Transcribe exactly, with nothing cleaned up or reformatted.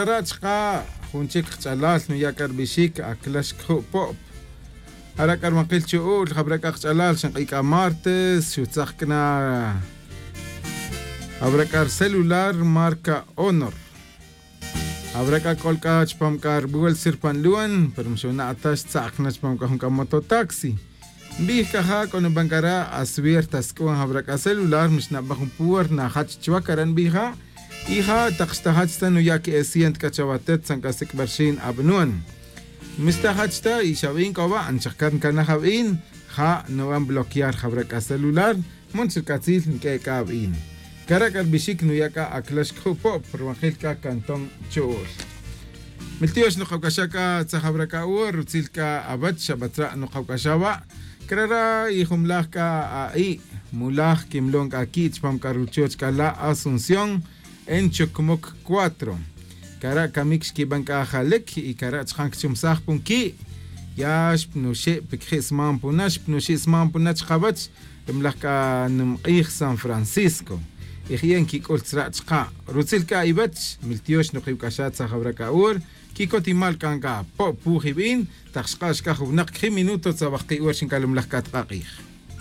Jara' chka' jun chic kach'alal nuya' c'a rbixic aclax cju' po'p. Jara' c'a rumankil chu'ul jabra' c'a kach'alal xink'i' c'a martes xutzak c'a na. Jabra' c'a rucelular marca honor. Jabra' c'a c'ol c'a chupam c'a rubuelsa ri pan luan pero mixona' ta xtzak na chupam c'a jun c'a mototaxi. Nbij c'a ja' c'o nuban c'a ra' aswierta sic'uan jabra' c'a celular mixnaban jun puerta najach chuwa c'a ra' nbij ja'. Y ja' tak xtajach ta nuya' que'e ciento c'a chawatet tzan c'a sic'bal xin abanuan. Mixtajach ta y xabin c'o wa' nchakcar ncanaj abin. Ja' nuban bloquear jabra' c'a celular. Mun chi rc'atzil nq'ue' c'a abin. Cara' c'a rbixic nuya' c'a aclax cju' po'p rumakil c'a canton chu'ul. Miltiox nukawc'axa' c'a tzajabra' c'a ur rutzil c'a awech xabatzra' nukawc'axa' wa'. Crara' y jumlaj c'a a'i' mulaj quimlon c'a qui' chupam c'a ruchoch c'a la' asunción. En chucmuc cuatro. Cara' camic xquiban c'a ajalic y cara' chajan cachumsaj pun qui'. Ya xpnuxi' piquiji' sman puna xpnuxi' sman puna chkawech. Ri mlaj c'a numk'ij san francisco. Y ji'e' nquic'ul tzra' chka' rutzil c'a iwech miltiox nukiwc'axa' tzajawra' c'a ur. Quicotimal c'a nca' po' puj ibin tak xka' xcaj winak quiji' minuto tzawaj ki' ur xincalumlaj c'a tk'a k'ij.